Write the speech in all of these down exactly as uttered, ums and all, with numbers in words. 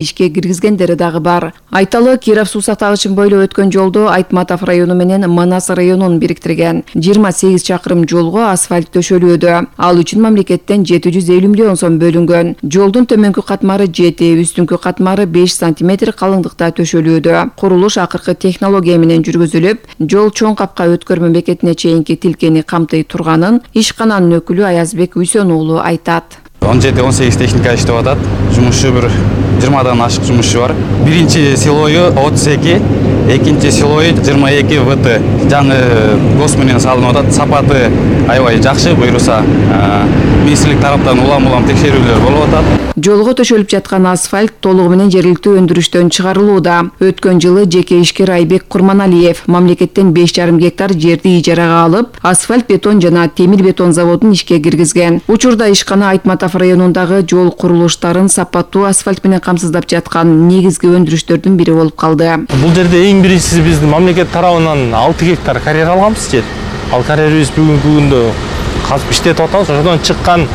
ишке киргизгендери дагы бар. Айталы, Киров суу сактагычын бойлой өткөн жолду Айтматов району менен Манас районун бириктирген жыйырма сегиз чакырым жолго асфальт төшөлүүдө. Ал үчүн мамлекеттен жети жүз элүү миллион сом бөлүнгөн. Жолдун төмөнкү катмары жети, үстүңкү катмары беш сантиметр калыңдыкта төшөлүүдө. Курулуш акыркы технология менен жүргүзүлүп, жол чоң капка өткөрмө бекетине чейинки тилкени камтый турганын ишкананын өкүлү Аязбек Үйсөн уулу айтат. он жети он сегиз техника иштеп атат. Жумушчу бир жыйырмадан ашык жумушчу бар. Биринчи силою отуз эки, экинчи силою жыйырма эки вт. Жаңы гос менен салынып атат. Сапаты аябай жакшы, буюрса министрлик тараптан улам-улам текшерүүлөр болуп атат. Жолго төшөлүп жаткан асфальт толугу менен жергиликтүү өндүрүштөн чыгарылууда. Өткөн жылы жеке ишкер Айбек Курманалиев мамлекеттен беш жарым гектар жерди ижарага алып, асфальт бетон жана темир бетон заводун ишке киргизген. Учурда ишкана Айтматов районундагы жол курулуштарын сапаттуу асфальт менен камсыздап жаткан негизги өндүрүштөрдүн бири болуп калды. Бул жерде эң биринчиси биздин мамлекет тарабынан алты гектар карьер алганбыз жер. Ал карьерибиз бүгүнкү күндө казып иштетип атабыз. Ошодон чыккан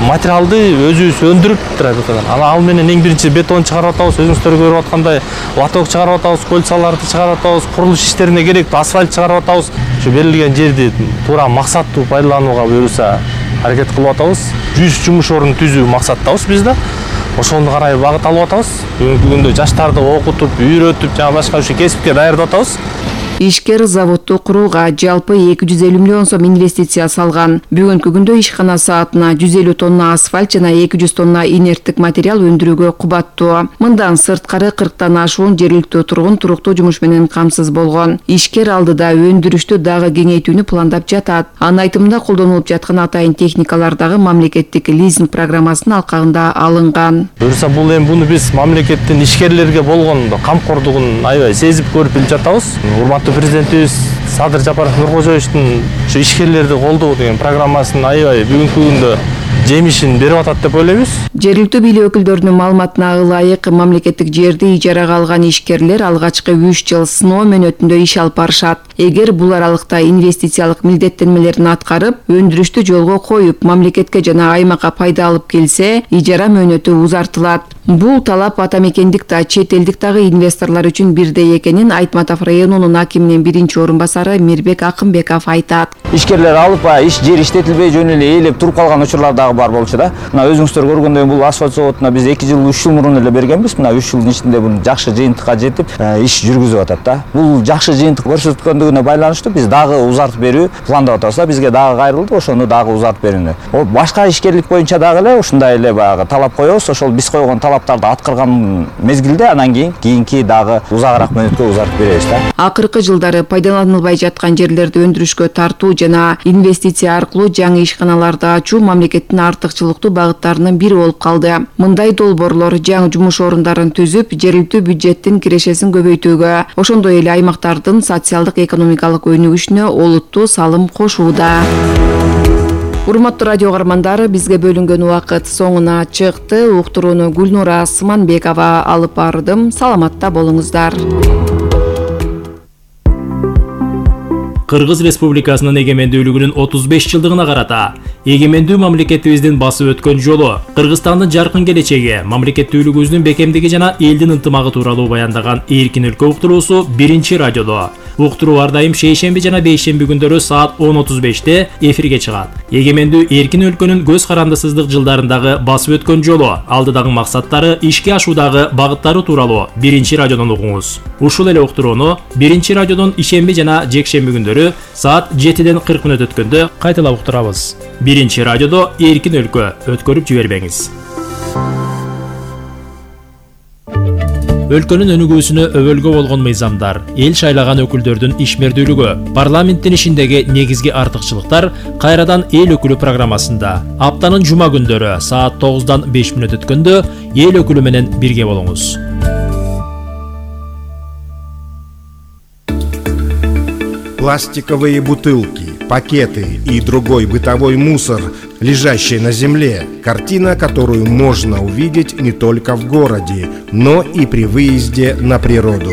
материалды өзүбүз өндүрүп турабыз. Ана ал менен эң биринчи бетон чыгарып атабыз, өзүңүздөр көрүп аткандай лоток чыгарып атабыз, кольцаларды чыгарып атабыз, курулуш иштерине керектүү асфальт чыгарып атабыз. Ушу берилген жерди туура максаттуу пайдаланууга буюрса аракет кылып атабыз. жүз жумуш орун түзүү максаттабыз биз да. Ошону карай багыт алып атабыз. Бүгүнкү күндө жаштарды окутуп, үйрөтүп, жана башка ушул кесипке даярдап атабыз. Ишкер заводду курууга жалпы эки жүз элүү миллион сом инвестиция салган. Бүгүнкү күндө ишкана саатына жүз элүү тонна асфальт жана эки жүз тонна инерттик материал өндүрүүгө кубаттуу. Мындан сырткары кырктан ашуун жергиликтүү тургун туруктуу жумуш менен камсыз болгон. Ишкер алдыда өндүрүштү дагы кеңейтүүнү пландап жатат. Анын айтымында колдонулуп жаткан атайын техникалар дагы мамлекеттик лизинг программасынын алкагында алынган. Буюрса бул эми буну биз мамлекеттин ишкерлерге болгон камкордугун аябай сезип көрүп билип жатабыз. Урматтуу президентибиз Садыр Жапаров Нуркожоевичтин ушу ишкерлерди колдоо деген программасынын аябай бүгүнкү күндө жемишин берип атат деп ойлойбуз. Жергиликтүү бийлик өкүлдөрүнүн маалыматына ылайык, мамлекеттик жерди ижарага алган ишкерлер алгачкы үч жыл сыноо мөөнөтүндө иш алып барышат. Эгер бул аралыкта инвестициялык милдеттенмелерин аткарып, өндүрүштү жолго коюп, мамлекетке жана аймакка пайда алып келсе, ижара мөөнөтү узартылат. Бул талап ата мекендик да, чет элдик дагы инвесторлор үчүн бирдей экенин Айтматов районунун акиминин биринчи орун басары Мирбек Акымбеков айтат. Ишкерлер алып, иш жер иштетилбей жөн эле ээлеп туруп калган учурлар дагы бар болчу да. Мына өзүңүздөр көргөндөй бул асфальт заводуна биз эки жыл, үч жыл мурун эле бергенбиз. Мына үч жылдын ичинде бул жакшы жыйынтыкка жетип, иш жүргүзүп атат да. Бул жакшы жыйынтык көрсөткөндүгүнө байланыштуу биз дагы узартып берүү пландап атабыз да. Бизге дагы кайрылды, ошону дагы узартып берүүнү. О, башка ишкерлик боюнча дагы эле ушундай эле баягы талап коебуз. Ошол биз койгон талаптарды аткарган мезгилде анан кийин кийинки дагы узагыраак мөөнөткө узартып беребиз да. Акыркы жылдары пайдаланылбай жаткан жерлерди өндүрүшкө тартуу жана инвестиция аркылуу жаңы ишканаларды ачуу мамлекеттин артыкчылыктуу багыттарынын бири болуп калды. Мындай долбоорлор жаңы жумуш орундарын түзүп, жергиликтүү бюджеттин кирешесин көбөйтүүгө, ошондой эле аймактардын социалдык экономикалык өнүгүшүнө олуттуу салым кошууда. Урматтуу радио каармандар, бизге бөлүнгөн убакыт соңуна чыкты. Уктурууну Гүлнура Сыманбекова алып бардым. Саламатта болуңуздар. Кыргыз Республикасынын эгемендүүлүгүнүн отуз беш жылдыгына карата эгемендүү мамлекетибиздин басып өткөн жолу, Кыргызстандын жаркын келечеги, мамлекеттүүлүгүбүздүн бекемдиги жана элдин ынтымагы тууралуу баяндаган Эркин өлкө уктуруусу биринчи радиодо. Уктуруу ар дайым шейшемби жана бейшемби күндөрү саат он отуз беште эфирге чыгат. Эгемендүү эркин өлкөнүн көз карандысыздык жылдарындагы басып өткөн жолу, алдыдагы максаттары, ишке ашуудагы багыттары тууралуу биринчи радиодон угуңуз. Ушул эле уктурууну биринчи радиодон ишемби жана жекшемби күндөрү саат жетиден кырк мүнөт өткөндө кайталап уктурабыз. Биринчи радиодо Эркин өлкө, өткөрүп жибербеңиз. Өлкөнүн өнүгүүсүнө өбөлгө болгон мыйзамдар, эл шайлаган өкүлдөрдүн ишмердүүлүгү, парламенттин ишиндеги негизги артыкчылыктар кайрадан эл өкүлү программасында. Аптанын жума күндөрү саат тогуздан беш мүнөт өткөндө эл өкүлү менен бирге болуңуз. Пластиковые бутылки, пакеты и другой бытовой мусор, лежащий на земле. Картина, которую можно увидеть не только в городе, но и при выезде на природу.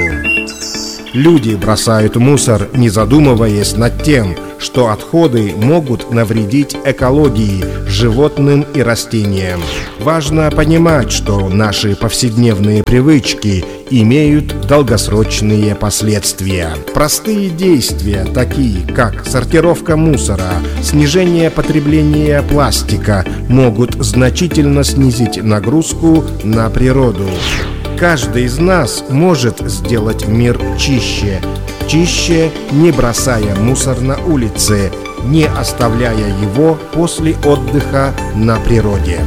Люди бросают мусор, не задумываясь над тем, что отходы могут навредить экологии, животным и растениям. Важно понимать, что наши повседневные привычки имеют долгосрочные последствия. Простые действия, такие как сортировка мусора, снижение потребления пластика, могут значительно снизить нагрузку на природу. Каждый из нас может сделать мир чище. Чище, не бросая мусор на улице, не оставляя его после отдыха на природе.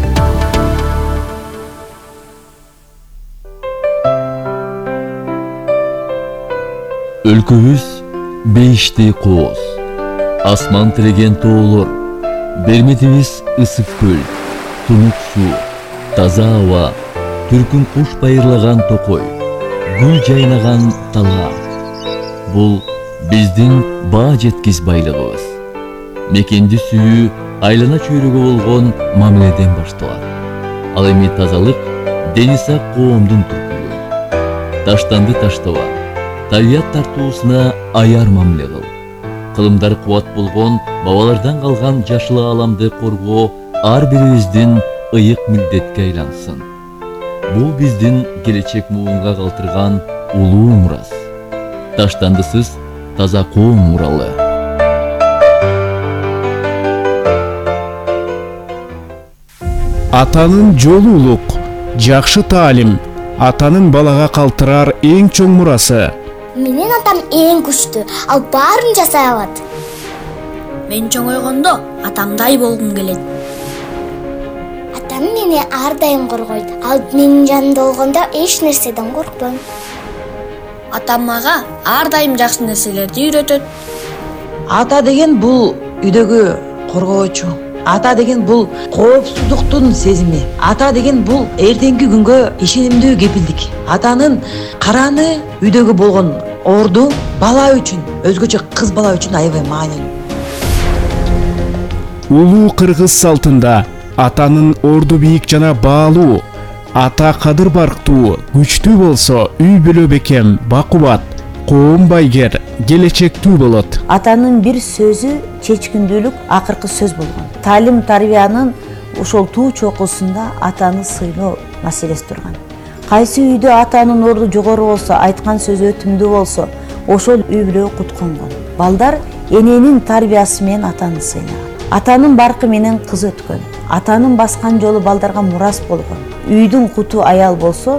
Өлкөбүз бейиштей кооз, асман тилеген тоолор, берметибиз ысык көл, тунук суу, таза аба, түркүн куш байырлаган токой, гүл жайнаган талаа. Бул биздин баа жеткис байлыгыбыз. Мекенди сүйүү айлана чөйрөгө болгон мамиледен башталат. Ал эми тазалык дени сак коомдун түркүлүгү. Таштанды таштаба, табият тартуусуна аяр мамиле кыл. Кылымдар кубат болгон бабалардан калган жашыл ааламды коргоо ар бирибиздин ыйык милдетке айлансын. Бул биздин келечек муунга калтырган улуу мурас. Таштандысыз таза коом муралы. Атанын жолу улук, жакшы таалим, атанын балага калтырар эң чоң мурасы. Менин атам эң күчтүү, ал баарын жасай алат. Мен чоңойгондо атамдай болгум келет. Атам мени ар дайым коргойт. Ал менин жанымда болгондо эч нерседен коркпойм. Атам мага ар дайым жакшы нерселерди үйрөтөт. Ата деген бул үйдөгү коргоочу. Ата деген бул коопсуздуктун сезими. Ата деген бул эртеңки күнгө ишенимдүү кепилдик. Атанын караны үйдөгү болгон орду бала үчүн, өзгөчө кыз бала үчүн аябай маанилүү. Улуу кыргыз салтында атанын орду бийик жана баалуу, ата кадыр барктуу, күчтүү болсо үй бүлө бекем, бакубат, коом байгер, келечектүү болот. Атанын бир сөзү чечкиндүүлүк акыркы сөз болгон. Таалим тарбиянын ошол туу чокусунда атаны сыйлоо маселеси турган. Кайсы үйдө атанын орду жогору болсо, айткан сөзү өтүмдүү болсо, ошол үй бүлө кутконгон. Балдар эненин тарбиясы менен атаны сыйлаган. Атанын баркы менен кыз өткөн. Атанын баскан жолу балдарга мурас болгон. Үйдүн куту аял болсо,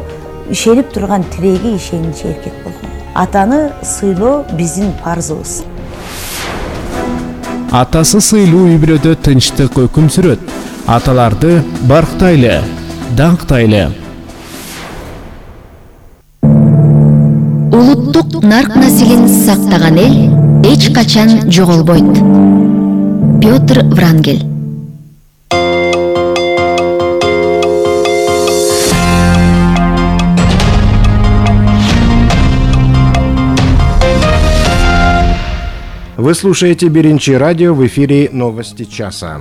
ишенип турган тиреги ишеничи эркек болгон. Атаны сыйлоо биздин парзыбыз. Атасы сыйлуу үй бүлөдө тынчтык өкүм сүрөт. Аталарды барктайлы, даңктайлы. Улуттук нарк населин сактаган эл эч качан жоголбойт. Петр Врангель. Вы слушаете Беринчи радио, в эфире «Новости часа».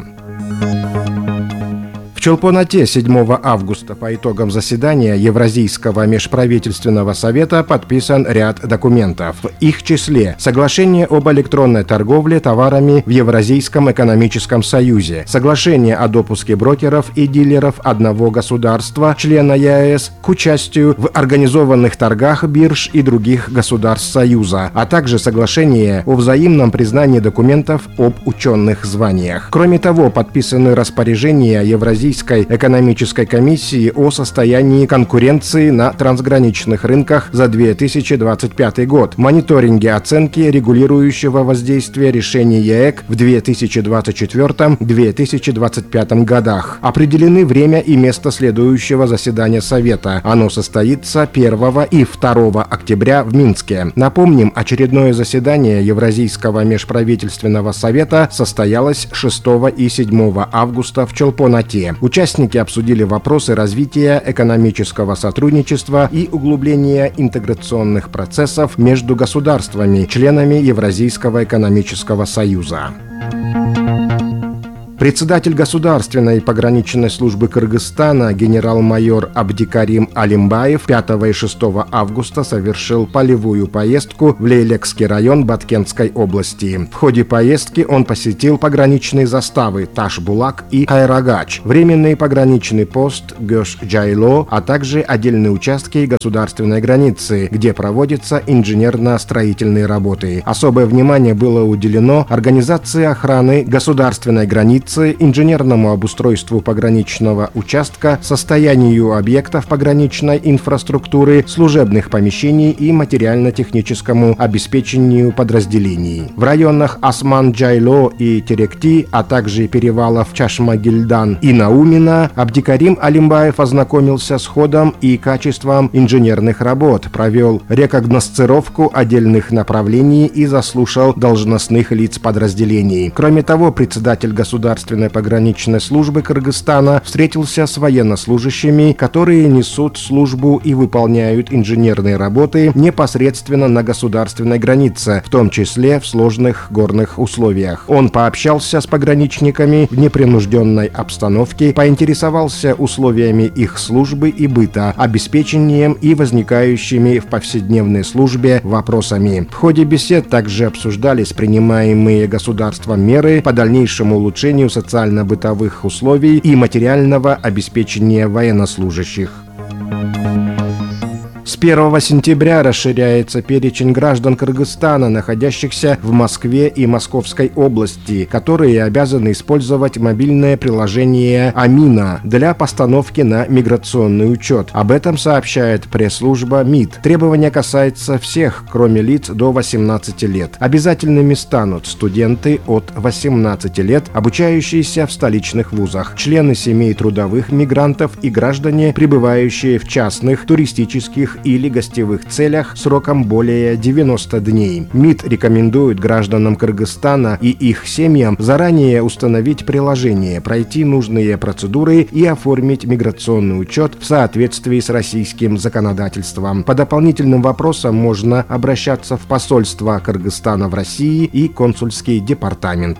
В Чолпон-Ате седьмого августа по итогам заседания Евразийского межправительственного совета подписан ряд документов. В их числе соглашение об электронной торговле товарами в Евразийском экономическом союзе, соглашение о допуске брокеров и дилеров одного государства, члена ЕАЭС, к участию в организованных торгах бирж и других государств Союза, а также соглашение о взаимном признании документов об ученых званиях. Кроме того, подписаны распоряжения Евразийского экономической комиссии о состоянии конкуренции на трансграничных рынках за две тысячи двадцать пятый год, мониторинге оценки регулирующего воздействия решений ЕЭК в две тысячи двадцать четвёртом — две тысячи двадцать пятом годах. Определены время и место следующего заседания Совета. Оно состоится первого и второго октября в Минске. Напомним, очередное заседание Евразийского межправительственного совета состоялось шестого и седьмого августа в Чолпон-Ате. Участники обсудили вопросы развития экономического сотрудничества и углубления интеграционных процессов между государствами, членами Евразийского экономического союза. Председатель Государственной пограничной службы Кыргызстана генерал-майор Абдикарим Алимбаев пятого и шестого августа совершил полевую поездку в Лейлекский район Баткентской области. В ходе поездки он посетил пограничные заставы Таш-Булак и Кайрагач, временный пограничный пост Гёш-Джайло, а также отдельные участки государственной границы, где проводятся инженерно-строительные работы. Особое внимание было уделено организации охраны государственной границы, инженерному обустройству пограничного участка, состоянию объектов пограничной инфраструктуры, служебных помещений и материально-техническому обеспечению подразделений. В районах Осман-Джайло и Теректи, а также перевалов Чашма-Гильдан и Наумина Абдикарим Алимбаев ознакомился с ходом и качеством инженерных работ, провел рекогносцировку отдельных направлений и заслушал должностных лиц подразделений. Кроме того, председатель государственной пограничной службы Кыргызстана встретился с военнослужащими, которые несут службу и выполняют инженерные работы непосредственно на государственной границе, в том числе в сложных горных условиях. Он пообщался с пограничниками в непринужденной обстановке, поинтересовался условиями их службы и быта, обеспечением и возникающими в повседневной службе вопросами. В ходе бесед также обсуждались принимаемые государством меры по дальнейшему улучшению социально-бытовых условий и материального обеспечения военнослужащих. С первого сентября расширяется перечень граждан Кыргызстана, находящихся в Москве и Московской области, которые обязаны использовать мобильное приложение «Амина» для постановки на миграционный учет. Об этом сообщает пресс-служба МИД. Требование касается всех, кроме лиц до восемнадцати лет. Обязательными станут студенты от восемнадцати лет, обучающиеся в столичных вузах, члены семей трудовых мигрантов и граждане, пребывающие в частных, туристических или гостевых целях сроком более девяноста дней. МИД рекомендует гражданам Кыргызстана и их семьям заранее установить приложение, пройти нужные процедуры и оформить миграционный учет в соответствии с российским законодательством. По дополнительным вопросам можно обращаться в посольство Кыргызстана в России и консульский департамент.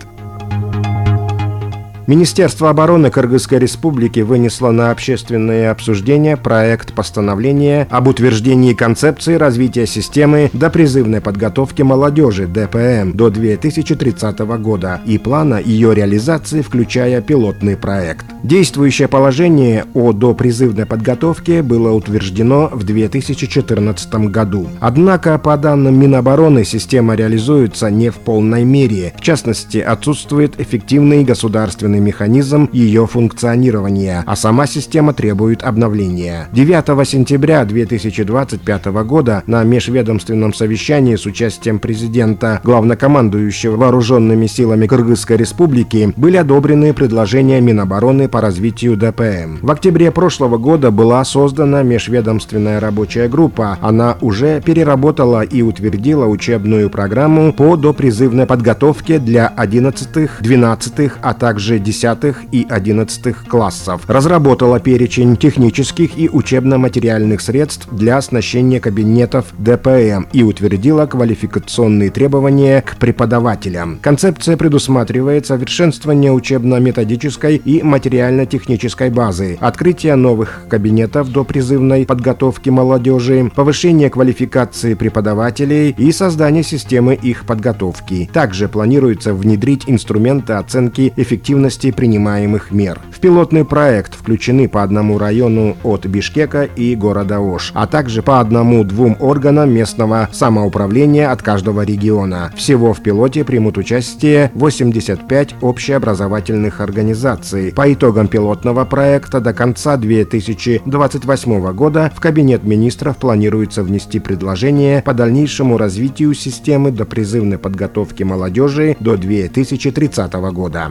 Министерство обороны Кыргызской Республики вынесло на общественное обсуждение проект постановления об утверждении концепции развития системы допризывной подготовки молодежи (дэ пэ эм) до две тысячи тридцатого года и плана ее реализации, включая пилотный проект. Действующее положение о допризывной подготовке было утверждено в две тысячи четырнадцатом году. Однако, по данным Минобороны, система реализуется не в полной мере. В частности, отсутствует эффективный государственный механизм ее функционирования, а сама система требует обновления. девятого сентября две тысячи двадцать пятого года на межведомственном совещании с участием президента, главнокомандующего вооруженными силами Кыргызской Республики, были одобрены предложения Минобороны по развитию дэ пэ эм. В октябре прошлого года была создана межведомственная рабочая группа. Она уже переработала и утвердила учебную программу по допризывной подготовке для одиннадцатых, двенадцатых, а также десятых и одиннадцатых классов, разработала перечень технических и учебно-материальных средств для оснащения кабинетов дэ пэ эм и утвердила квалификационные требования к преподавателям. Концепция предусматривает совершенствование учебно-методической и материально-технической базы, открытие новых кабинетов допризывной подготовки молодежи, повышение квалификации преподавателей и создание системы их подготовки. Также планируется внедрить инструменты оценки эффективности принимаемых мер. В пилотный проект включены по одному району от Бишкека и города Ош, а также по одному-двум органам местного самоуправления от каждого региона. Всего в пилоте примут участие восемьдесят пять общеобразовательных организаций. По итогам пилотного проекта до конца две тысячи двадцать восьмого года в Кабинет министров планируется внести предложение по дальнейшему развитию системы допризывной подготовки молодежи до две тысячи тридцатого года.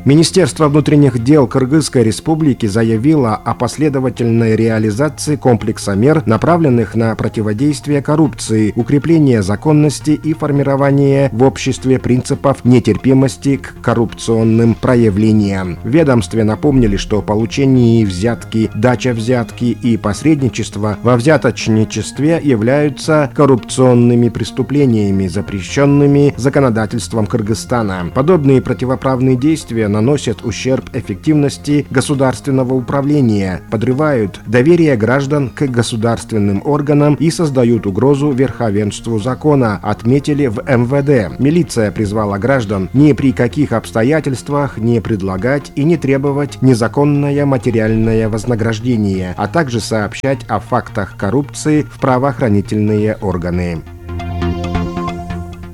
Министерство внутренних дел Кыргызской Республики заявило о последовательной реализации комплекса мер, направленных на противодействие коррупции, укрепление законности и формирование в обществе принципов нетерпимости к коррупционным проявлениям. В ведомстве напомнили, что получение взятки, дача взятки и посредничество во взяточничестве являются коррупционными преступлениями, запрещенными законодательством Кыргызстана. Подобные противоправные действия наносят ущерб эффективности государственного управления, подрывают доверие граждан к государственным органам и создают угрозу верховенству закона, отметили в эм вэ дэ. Милиция призвала граждан ни при каких обстоятельствах не предлагать и не требовать незаконное материальное вознаграждение, а также сообщать о фактах коррупции в правоохранительные органы.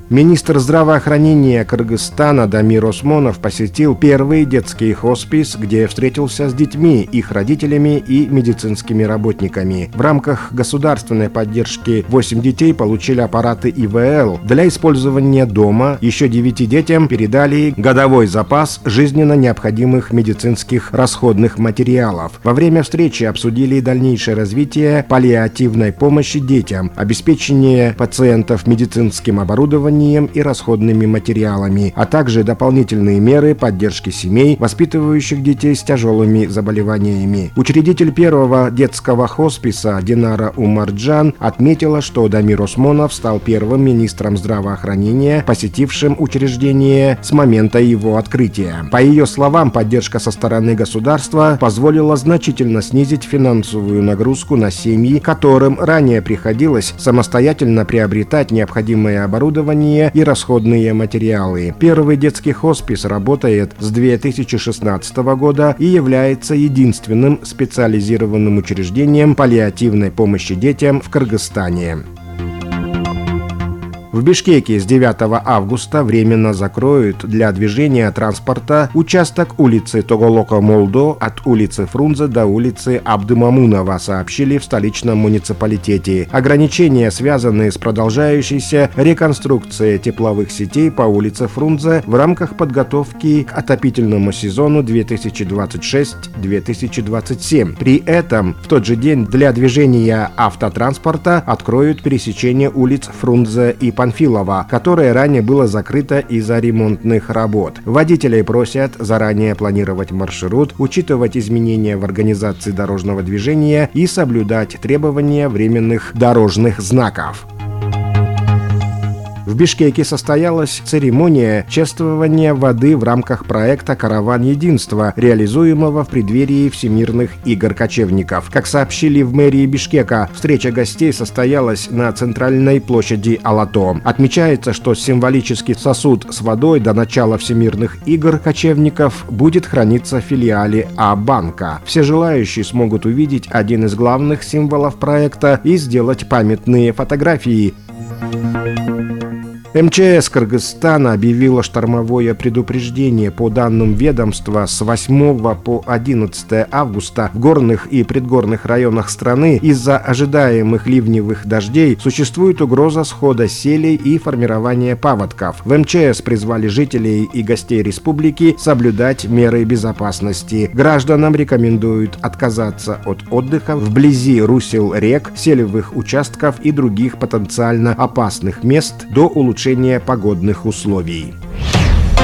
Министр здравоохранения Кыргызстана Дамир Осмонов посетил первый детский хоспис, где встретился с детьми, их родителями и медицинскими работниками. В рамках государственной поддержки восемь детей получили аппараты и вэ эл. Для использования дома еще девяти детям передали годовой запас жизненно необходимых медицинских расходных материалов. Во время встречи обсудили дальнейшее развитие паллиативной помощи детям, обеспечение пациентов медицинским оборудованием и расходными материалами, а также дополнительные меры поддержки семей, воспитывающих детей с тяжелыми заболеваниями. Учредитель первого детского хосписа Динара Умарджан отметила, что Дамир Осмонов стал первым министром здравоохранения, посетившим учреждение с момента его открытия. По ее словам, поддержка со стороны государства позволила значительно снизить финансовую нагрузку на семьи, которым ранее приходилось самостоятельно приобретать необходимое оборудование и расходные материалы. Первый детский хоспис работает с две тысячи шестнадцатого года и является единственным специализированным учреждением паллиативной помощи детям в Кыргызстане. В Бишкеке с девятого августа временно закроют для движения транспорта участок улицы Тоголоко-Молдо от улицы Фрунзе до улицы Абдымамунова, сообщили в столичном муниципалитете. Ограничения, связанные с продолжающейся реконструкцией тепловых сетей по улице Фрунзе в рамках подготовки к отопительному сезону две тысячи двадцать шесть — две тысячи двадцать семь. При этом в тот же день для движения автотранспорта откроют пересечение улиц Фрунзе и Панфилова, которое ранее было закрыто из-за ремонтных работ. Водителей просят заранее планировать маршрут, учитывать изменения в организации дорожного движения и соблюдать требования временных дорожных знаков. В Бишкеке состоялась церемония чествования воды в рамках проекта «Караван единства», реализуемого в преддверии Всемирных игр кочевников. Как сообщили в мэрии Бишкека, встреча гостей состоялась на центральной площади Алато. Отмечается, что символический сосуд с водой до начала Всемирных игр кочевников будет храниться в филиале А-банка. Все желающие смогут увидеть один из главных символов проекта и сделать памятные фотографии. эм че эс Кыргызстана объявила штормовое предупреждение. По данным ведомства, с восьмого по одиннадцатое августа в горных и предгорных районах страны из-за ожидаемых ливневых дождей существует угроза схода селей и формирования паводков. В эм че эс призвали жителей и гостей республики соблюдать меры безопасности. Гражданам рекомендуют отказаться от отдыха вблизи русел рек, селевых участков и других потенциально опасных мест до улучшения погодных условий.